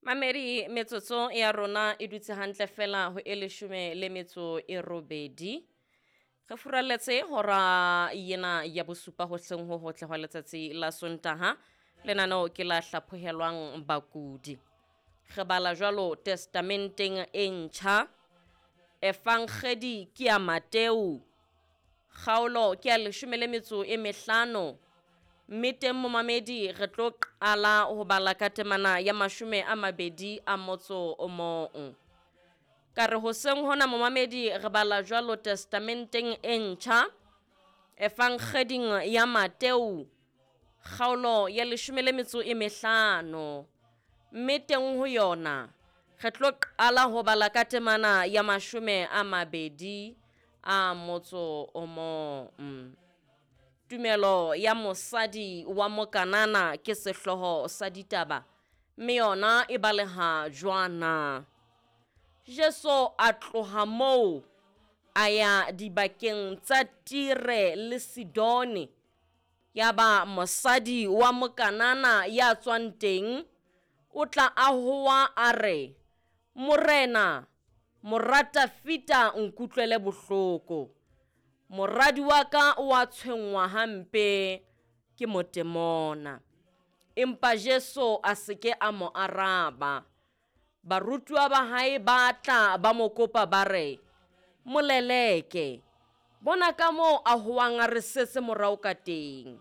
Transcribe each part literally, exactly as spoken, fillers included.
Mamedi metsotso ya rona e dutse hantle fela ho e leshome le metso e robedi. Re furalletse hora yena ya bosupa hoseng ho hotle hwa letsatsi la Sontaha. Lenaneo ke la hlaphohelwang bakudi. Re bala jwalo testamenteng e ntjha. Evangedi ke ya Mateu. Kgaolo ke ya leshome le metso e mehlano. Mme teng momamedi re tlo qala ho bala ka temana ya mashome a mabedi a motso o mong. Ka re hoseng hona momamedi re bala jwalo testamenteng e ntjha. Evangeding ya Mateu kgaolo ya leshome le metso e mehlano. Mme teng ho yona re tlo qala ho bala ka temana ya mashome a mabedi a motso o mong. Tumelo ya mosadi wa Mokanana ke sehlooho sa ditaba, mme yona e baleha jwana. Jesu a tloha moo a ya dibakeng tsa Tire le Sidone. Yaba mosadi wa Mokanana ya tswang teng o tla a hoa a re, Morena, mora Dafita, nkutlwele bohloko. Moradi wa ka o a tshwenngwa hampe ke motemona. Empa Jesu a se ke a mo araba. Barutuwa ba hae ba tla ba mo kopa ba re, Moleleke, bona ka moo a hoang a re setse morao ka teng.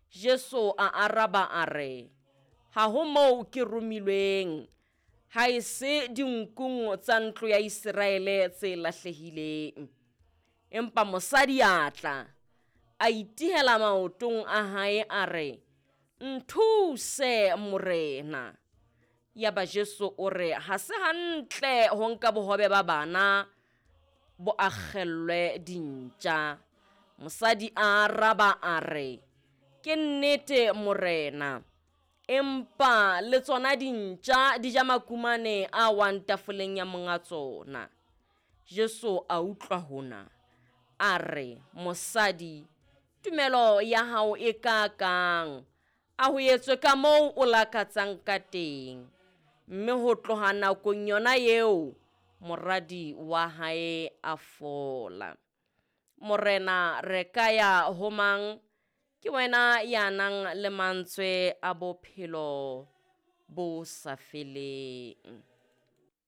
Jesu a araba a re, ha ho moo ke romilweng, ha e se dinkung tsa ntlo ya Iseraele tse lahlehileng. Empa mosadi a tla, a itihela maotong a hae a re, nthuse Morena. Yaba Jesu o re, ha se hantle ho nka bohobe ba bana bo akgellwe dintja. Mosadi a araba a re, ke nnete Morena, empa le tsona dintja di ja makumane a wang tafoleng ya monga tsona. Jesu a utlwa hona, a re, mosadi, tumelo ya hao e kakang, a ho etswe ka moo o lakatsang ka teng. Mme ho tloha nakong yona eo, moradi wa hae a fola. Morena, re ka ya ho mang? Ke wena ya nang le mantswe a bophelo bo sa feleng.